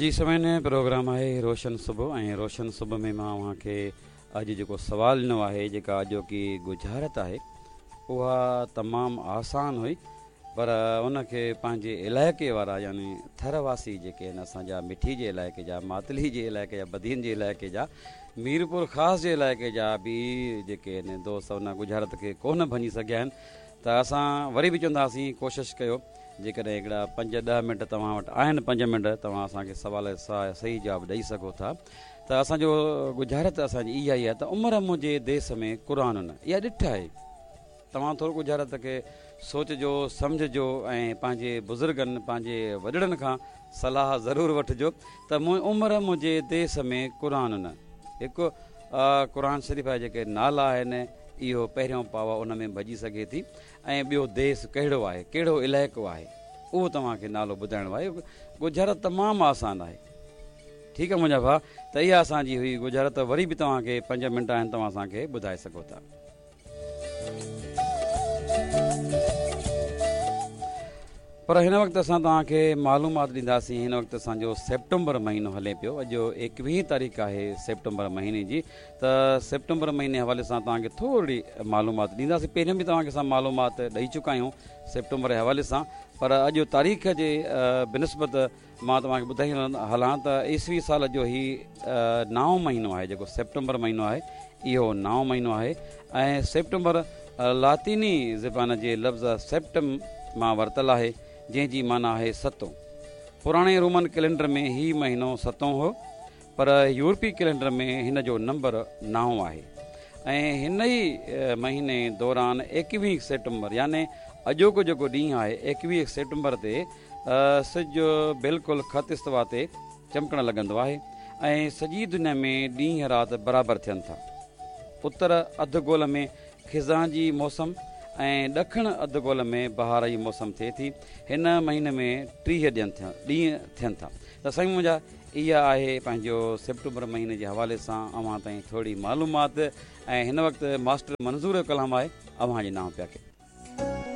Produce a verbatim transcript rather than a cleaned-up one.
جي سامعين، پروگرام آهي روشن صبح ۽ روشن صبح ۾ مان اوهان کي اڄ جيڪو سوال ڏنو آهي، جيڪا اڄوڪي ڳجهارت آهي، اها تمام آسان هئي، پر ان کي پنهنجي علائقي وارا يعني ٿر واسي جيڪي آهن اسان جا، مٺي جي علائقي جا، ماتلي جي علائقي جا، بدين جي علائقي جا، ميرپور خاص جي علائقي جا به جيڪي آهن دوست، ان ڳجهارت کي ڪونه ڀڃي سگهيا آهن. ته اسان وري به چونداسين ڪوشش ڪيو، جيڪڏهن هڪڙا پنج ڏهه منٽ توهان وٽ آهن، پنج منٽ توهان اسان کي سوال صحيح جواب ڏئي سگهو ٿا. ته اسان جو ڳجهارت اسان جي اها ئي آهي ته عمر منهنجي ديس ۾ قرآن نه، اها ڏٺ آهي. توهان ٿورو ڳجهارت کي سوچجو، سمجهجو ۽ پنهنجي بزرگن، پنهنجي وڏڙن کان صلاح ضرور وٺجو ته عمر منهنجي ديس ۾ قرآن نه. هڪ قرآن شريف جا جيڪي نالا آهن، اهو پهريون پاوا ان ۾ ڀڄي سگهي ٿي، ۽ ٻيو ديس ڪهڙو آهي، ڪهڙو علائقو آهي، اهو توهان کي نالو ٻڌائڻو آهي. ڳجهارت تمام آسان آهي. ٺيڪ آهي منهنجا ڀاء، ته اها اسان جي هئي ڳجهارت. وري به توهان کي پنج منٽ آهن، توهان اسان کي ٻڌائي سگهو ٿا. پر هن وقت اسان توهان کي معلومات ڏينداسين. هن وقت اسان جو سيپٽمبر مهينو هلي پيو، اڄ ايڪويهه تاريخ آهي سيپٽمبر مهيني جي. ته سيپٽمبر مهيني حوالي سان توهان کي ٿوري معلومات ڏينداسين. پهريون به توهان کي اسان معلومات ڏئي چڪا آهيون سيپٽمبر جي حوالي سان، پر اڄ تاريخ جي بنسبت مان توهان کي ٻڌائي هلان ته عيسوي سال جو هي نائون مهينو آهي. جيڪو سيپٽمبر مهينو آهي، اهو نائون مهينو آهي ۽ سيپٽمبر لاطيني زبان جي لفظ سيپٽم مان ورتل آهي، جنهن جي معنيٰ آهي ستون. پراڻي رومن ڪئلينڊر ۾ هي مهينو ستون هو، پر يورپي ڪئلينڊر ۾ هن جو نمبر نائون آهي ۽ هن ئي مهيني دوران ايڪويهه سيپٽمبر، يعني اڄوڪو جيڪو ڏينهن آهي، ايڪويهه سيپٽمبر تي سج بلڪل خط استوا تي چمڪڻ لڳندو آهي ۽ سڄي دنيا ۾ ڏينهن رات برابر ٿين ٿا. اتر اڌ گول ۾ خزان جي موسم ۽ ڏکڻ اڌ گول ۾ بهار جي موسم ٿئي ٿي. هن مهيني ۾ ٽيهه ڏينهن ٿين ٿا. ته سائين منهنجا، اها آهي پنهنجو سيپٽمبر مهيني جي حوالي سان اوهان تائين ٿوري معلومات ۽ هن وقت ماسٽر منظور جو ڪلام آهي اوهان جي نانء پيا ڪيو.